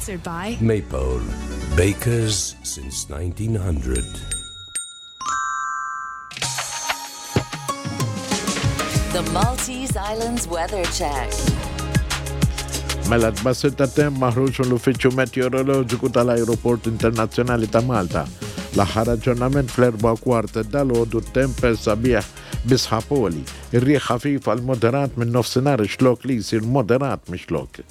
Sponsored by Maypole, bakers since 1900. The Maltese Islands Weather Check. Mela tbassir ta' temp maħruġ mill-Uffiċċju Meteoroloġiku tal-Ajruport Internazzjonali ta' Malta. L-aħħar aġġornament fl-4 kwart dalgħodu temp sabiħ bi sħab għoli. Ir-riħ ħafif għal moderat minn nofsinhar ix-xlokk li jsir moderat mix-xlokk.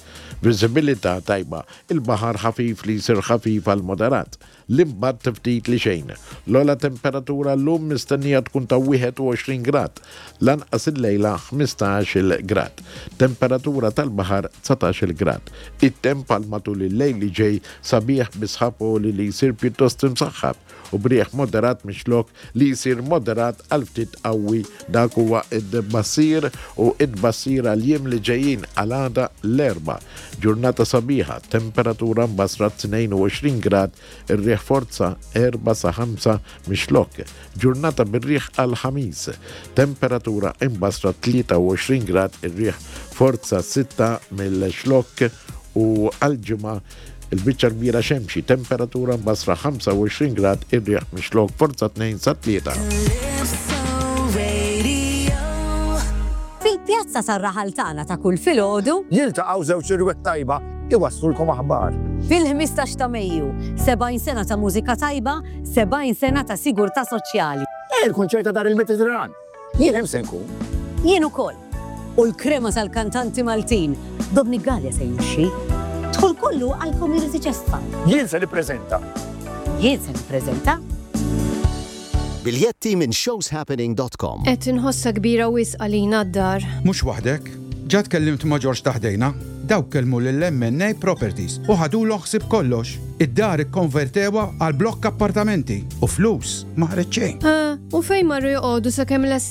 Viżibilità tajba. Il-baħar ħafif li jsir ħafif għal moderat. L-impatt ftit li xejn. L-ogħla temperatura llum mistennija tkun ta' 21 grad, l-anqas illejla 15-il grad. Temperatura tal-baħar 19-il grad. It-temp għal matul il-lejl li ġej sabiħ bi sħab għoli li jsir pjuttost imsaħħab u b'riħ moderat mix-xlokk li jsir moderat għal ftit qawwi. Dak huwa t-tbassir u t-tbassir għall-jiem li ġejjin għal għada l-Erbgħa. Ġurnata sabiħa, temperatura mbassra 22 grad, ir-riħ forza 4 sa 5 mix-Xlokk. Ġurnata bir-riħ għall-Ħamis, temperatura imbassra 23 grad, ir-riħ forza 6 mill-Xlokk u għall-Ġimgħa il-biċċa l-kbira xemxi, temperatura mbassra 25 grad, ir-riħ mix-Xlokk forza 2 sa 3. Fil-pjazza tar-raħal tagħna ta' kull filgħodu. Jiltaqgħu żewġ irwieħ tajba iwasslulkom aħbar. Fil-15 ta' Mejju, 70 sena ta' mużika tajba, 70 sena ta' sigurtà soċjali. Il-kunċert ta' Dar il-Mediterran. Jien hemm se nkun. Jien ukoll. U l-krema tal-kantanti Maltin, Dominic Galea se jimxi. Dħul kollu għall-Community Chest Fund. Jien se nippreżenta. Jien se nippreżenta. Biljetti minn showshappening.com. Qed inħossha kbira wisq għalina d-dar. Mhux waħdek. Ġa tkellimt ma' Ġorġ ta' ħdejna. Dawk kellmu lil MNA Properties u ħadulhom ħsieb kollox. Id-dar ikkonvertewha għal blokk appartamenti u flus ma ħareġ xejn. Eh, u fejn marru joqogħdu sakemm lestew?